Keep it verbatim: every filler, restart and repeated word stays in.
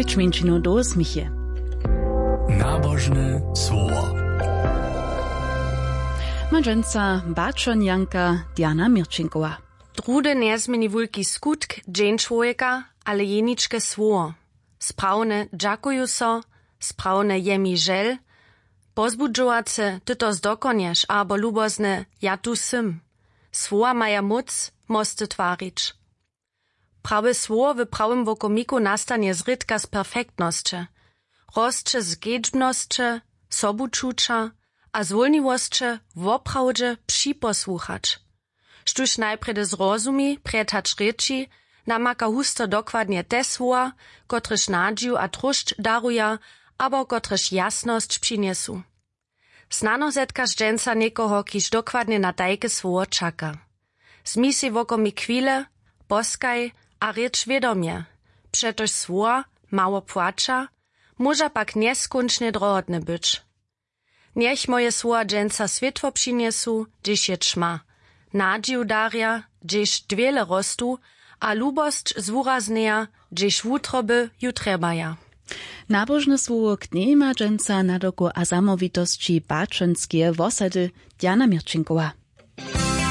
Čminčinu do smiche. Nabožne słowo. Ma dźensa baćonjanka Diana Měrćinkowa. Druhdy njezměni wulki skutk dźeń čłowjeka, ale jeničke słowo. Sprawne dźakuju so, sprawne je mi žel, pozbudźowace ty to zdokonješ abo lubozne ja tu sym. Słowa maja móc mosty twarić. Prawe słowo w prawym wokomiku nastanje zrědka z perfektnosće, rosće z kedźbnosće, sobučuća a zwólniwosće woprawdźe připosłuchać. Štóž najprjedy zrozumi prjed hač rěči, namaka husto dokładnje te słowa, kotrež nadźiw a tróšć daruja abo kotrež jasnosć přinjesu. Snano zetkaš dźensa někoho, kiž dokładnje na tajke słowo čaka. Zmi sej wokomik chwile, poskaj a rěč wědomje, přetož słowa mało płaća, móža pak njeskónčnje drohotne być. Njech moje słowa dźensa swětło přinjesu, hdźež je ćma, nadźiw darja, hdźež dwěle rostu, a lubosć zwuraznjeja, hdźež wutroby ju trjebaja. Nabožne słowo knjejma dźensa nadoko a zamołwitosći baćonskeje wosady Diana Měrćinkowa.